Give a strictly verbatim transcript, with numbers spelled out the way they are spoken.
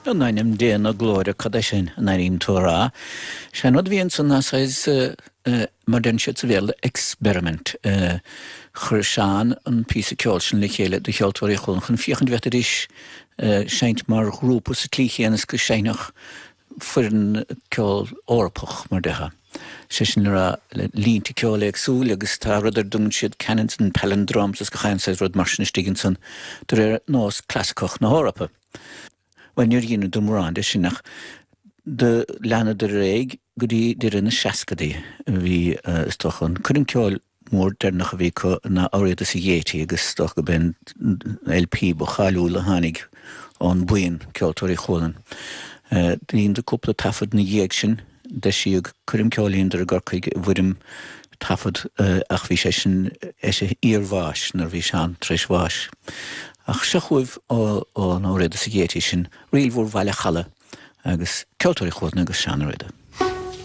In ainm Dé na glóire cad é sin an airíonn tú a rá. Sé an rud a bhí ansan ná saghas mar deireann siad sa Bhéarla experiment. Chuir Seán an píosa ceoil sin le chéile do Cheoltóirí Chualann chun féachaint an bhféadfaidís seinnt mar ghrúpa sa tslí chéanna is go seinnfeadh foireann ceoil Eorpach mar déarfá. Sé sin le rá le línte ceoil éagsúil agus tá rud ar a dtugann siad canons and palindromes is gach aon saghas rud mar sin istigh ansan de réir nós clasaiceach na hEorpa. Bhuel níor dheineadar mórán de sin ach do leanadar ar aghaidh go dtí deireadh na seascadaí a bhí is dócha an coirm ceoil mór deireanach a bhí acu ná Ó Riada sa Gaiety agus is dócha go b'in LP ba cháiliúla a tháinig ón buíon Ceoltóirí Chualann. Dheineadar cúpla taifead ina dhiaidh sin, d'eisíodh coirm ceoil a dheineadar i gCorcaigh i bhfoirm taifead ach bhí sé sin eis a iarbháis nuair a bhí Seán tar éis bháis. Ach seo chugaibh ón Ó Riada sa Gaiety sin, Ríl Mhór Bhaile Challa agus Ceoltóirí Chualann agus Seán Ó Riada.